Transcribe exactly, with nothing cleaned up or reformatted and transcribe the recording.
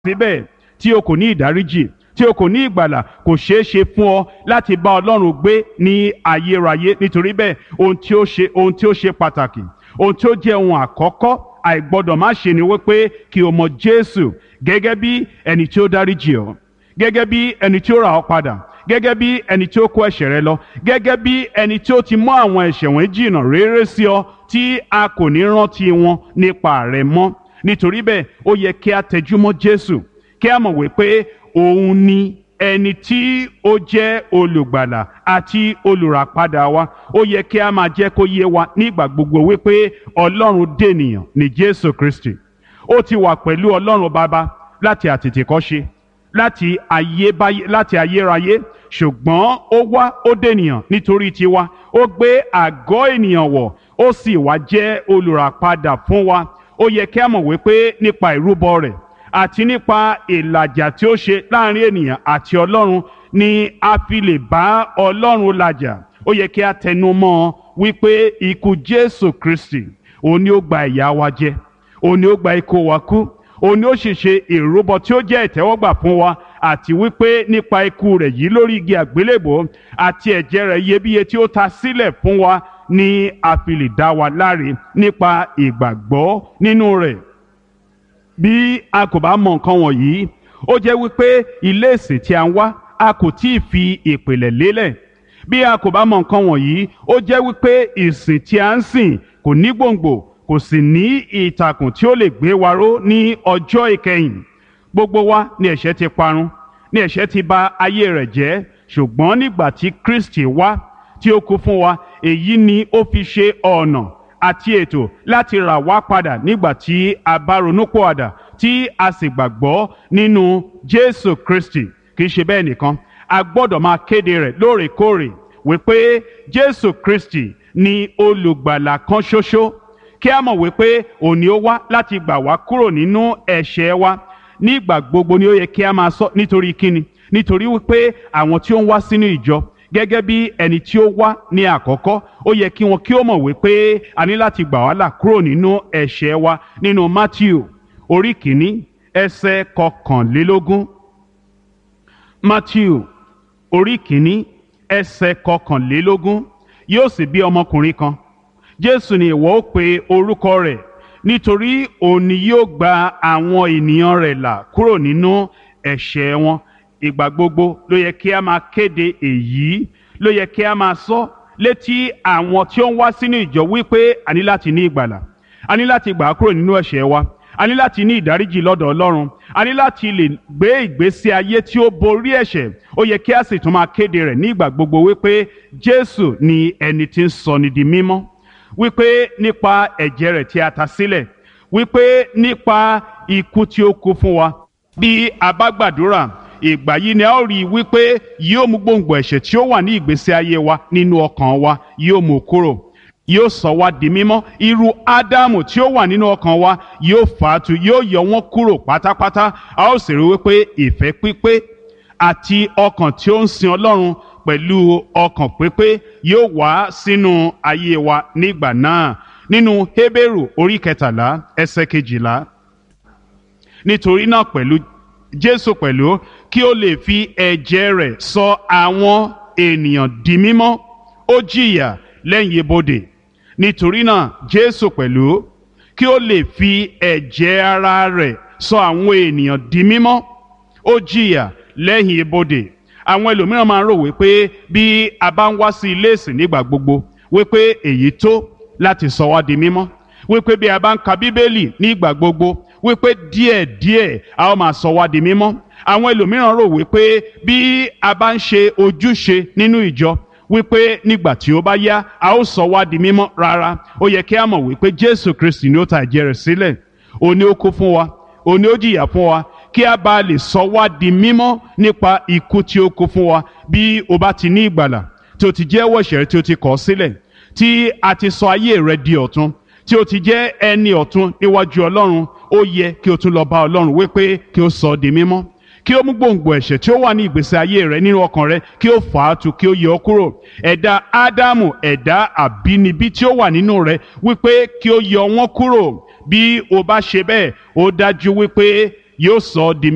Síbẹ̀ tí o kò ní ìdáríjì, tí o kò ní ìgbàlà, kò ṣeé ṣe fún ọ láti bá Ọlọ́run gbé ní ayérayé. Nítorí bẹ́ẹ̀, ohun tí ó ṣe ohun tí ó ṣe pàtàkì, ohun tí ó jẹ́ ohun àkọ́kọ́ àìgbọ́dọ̀ má ṣe ni wípé kí o mọ Jésù gẹ́gẹ́ bí ẹni tí ó dáríjì ọ́, gẹ́gẹ́ bí ẹni tí ó rà ọ́ padà, gẹ́gẹ́ bí ẹni tí ó kó ẹ̀ṣẹ̀ rẹ lọ, gẹ́gẹ́ bí ẹni tí ó ti mú àwọn ẹ̀ṣẹ̀ wọ̀nyí jìnnà réré sí ọ tí a kò ní rántí wọn nípa rẹ mọ́. Nítorí bẹ́ẹ̀, ó yẹ kí a tẹjúmọ́ Jésù, kí a mọ̀ wípé òun ni ẹni tí ó jẹ́ olùgbàlà àti olùràpadà wa. Ó yẹ kí a máa jẹ́ kó yé wa nígbà gbogbo wípé Ọlọ́run dènìyàn ní Jésù Kristi. Ó ti wà pẹ̀lú Ọlọ́run Baba láti àtètèkọ́ṣe, láti ayébáyé, láti ayérayé, ṣùgbọ́n ó wá, ó dènìyàn nítorí tiwa. Ó gbé àgọ́ ènìyàn wọ̀, ó sì wá jẹ́ olùràpadà fún wa. Ó yẹ kí a mọ̀ wípé nípa ìrúbọ rẹ̀ àti nípa ìlàjà tí ó ṣe láàrin ènìyàn àti Ọlọ́run ni a fi lè bá Ọlọ́run làjà. Ó yẹ kí a tẹnu mọ́ ọ wípé ikú Jésù Kristi, òun ni ó gba ìyà wa jẹ, òun ni ó gba ikú wa kú, òun ni ó sì ṣe ìrúbọ tí ó jẹ́ ìtẹ́wọ́gbà fún wa, àti wípé nípa ikú rẹ̀ yìí lórí igi àgbélébòó àti ẹ̀jẹ̀ rẹ̀ iyebíye tí ó ta sílẹ̀ fún wa ni a fi lè dá wa láre nípa ìgbàgbọ́ nínú rẹ̀. Bí a kò bá mọ nǹkan wọ̀nyí, ó jẹ́ wípé ilé ìsìn tí a ń wá, a kò tí ì fi ìpìlẹ̀ lélẹ̀. Bí a kò bá mọ nǹkan wọ̀nyí, ó jẹ́ wípé ìsìn tí a ń sìn kò ní gbòǹgbò, kò sì ní ìtàkùn tí ó lè gbé wa ró ní ọjọ́ ìkẹyìn. Gbogbo wa ni ẹ̀ṣẹ̀ ti parun, ni ẹ̀ṣẹ̀ ti bà ayé rẹ̀ jẹ́, ṣùgbọ́n nígbà tí Kristi wá tí ó kú fún wa, èyí ni ó fi ṣe ọ̀nà àti ètò láti rà wá padà nígbà tí a bá ronúpìwàdà tí a sì gbàgbọ́ nínú Jésù Kristi. Kì í ṣe bẹ́ẹ̀ nìkan, a gbọ́dọ̀ máa kéde rẹ̀ lóòrèkóòrè wípé Jésù Kristi ni olùgbàlà kan ṣoṣo, kí a mọ̀ wípé òun ni ó wá láti gbà wá kúrò nínú ẹ̀ṣẹ̀ wa. Nígbà gbogbo ni ó yẹ kí a máa sọ. Nítorí kíni? Nítorí wípé àwọn tí ó ń wá sínú ìjọ gẹ́gẹ́ bí ẹni tí ó wá ní àkọ́kọ́, ó yẹ kí wọn kí ó mọ̀ wípé a ní láti gbà wá là kúrò nínú ẹ̀ṣẹ̀ wa. Nínú Matthew orí kìíní ẹsẹ̀ kọkànlélógún. Matthew orí kìíní ẹsẹ̀ kọkànlélógún. Yóò sì bí ọmọkùnrin kan, Jésù ni ìwọ ó pe orúkọ rẹ̀, nítorí òun ni yóò gba àwọn ènìyàn rẹ̀ là kúrò nínú ẹ̀ṣẹ̀ wọn. Ìgbà gbogbo ló yẹ kí a máa kéde èyí, ló yẹ kí a máa sọ létí àwọn tí ó ń wá sínú ìjọ wípé a ní láti ní ìgbàlà, a ní láti gbà á kúrò nínú ẹ̀ṣẹ̀ wa, a ní láti ní ìdáríjì lọ́dọ̀ Ọlọ́run, a ní láti lè gbé ìgbésí ayé tí ó borí ẹ̀ṣẹ̀. Ó yẹ kí a sì tún máa kéde rẹ̀ ní ìgbà gbogbo wípé Jésù ni ẹni tí ń sọni di mímọ́, wípé nípa ẹ̀jẹ̀ rẹ̀ tí a ta sílẹ̀, wípé nípa ikú tí ó kú fún wa, bí a bá gbàdúrà, ìgbà yìí ni a ó rí i wípé yóò mú gbòǹgbò ẹ̀ṣẹ̀ tí ó wà ní ìgbésí ayé wa nínú ọkàn wa, yóò mú kúrò, yóò sọ wá di mímọ́. Irú Ádámù tí ó wà nínú ọkàn wa, yóò fà á tu, yóò yọ wọ́n kúrò pátápátá. A ó sì rí wípé ìfẹ́ pípé àti ọkàn tí ó ń sin Ọlọ́run pẹ̀lú ọkàn pípé yóò wá sínú ayé wa nígbà náà. Nínú Hébérù orí kẹtàlá ẹsẹ̀ kejìlá. Nítorí náà pẹ̀lú Jésù pẹ̀lú, kí ó lè fi ẹ̀jẹ̀ rẹ̀ sọ àwọn ènìyàn di mímọ́, ó jìyà lẹ́yìn ibodè. Nítorí náà Jésù pẹ̀lú, kí ó lè fi ẹ̀jẹ̀ ara rẹ̀ sọ àwọn ènìyàn di mímọ́, ó jìyà lẹ́yìn ibodè. Àwọn ẹlòmíràn máa ń rò wípé bí a bá ń wá sí ilé ìsìn nígbà gbogbo, wípé èyí tó láti sọ wá di mímọ́, wípé bí a bá ń ka Bíbélì nígbà gbogbo, wípé díẹ̀díẹ̀ a ó máa sọ wá di mímọ́. Àwọn ẹlòmíràn rò wípé bí a bá ń ṣe ojúṣe nínú ìjọ, wípé nígbà tí ó bá yá a ó sọ wá di mímọ́. Rárá, ó yẹ kí a mọ̀ wípé Jésù Kristi ni ó ta ẹ̀jẹ̀ rẹ̀ sílẹ̀, òun ni ó kú fún wa, òun ni ó jìyà fún wa, kí a bá lè sọ wá di mímọ́ nípa ikú tí ó kú fún wa. Bí o bá ti ní ìgbàlà, tí o ti jẹ́wọ́ ẹ̀ṣẹ̀ rẹ tí o ti kọ̀ sílẹ̀, tí a ti sọ ayé rẹ di ọ̀tun, tí o ti jẹ́ ẹni ọ̀tun níwájú Ọlọ́run, ó yẹ kí o tún lọ bá Ọlọ́run wípé kí o sọ ọ́ di mímọ́, kí ó mú gbòǹgbò ẹ̀ṣẹ̀ tí ó wà ní ìgbésí ayé rẹ nínú ọkàn rẹ, kí ó fà á tu, kí ó yọ ọ́ kúrò. Ẹ̀dá Ádámù, ẹ̀dá àbínibí tí ó wà nínú rẹ, wípé kí ó yọ wọ́n kúrò. Bí o bá ṣe bẹ́ẹ̀, ó dájú wípé yóò sọ ọ́ di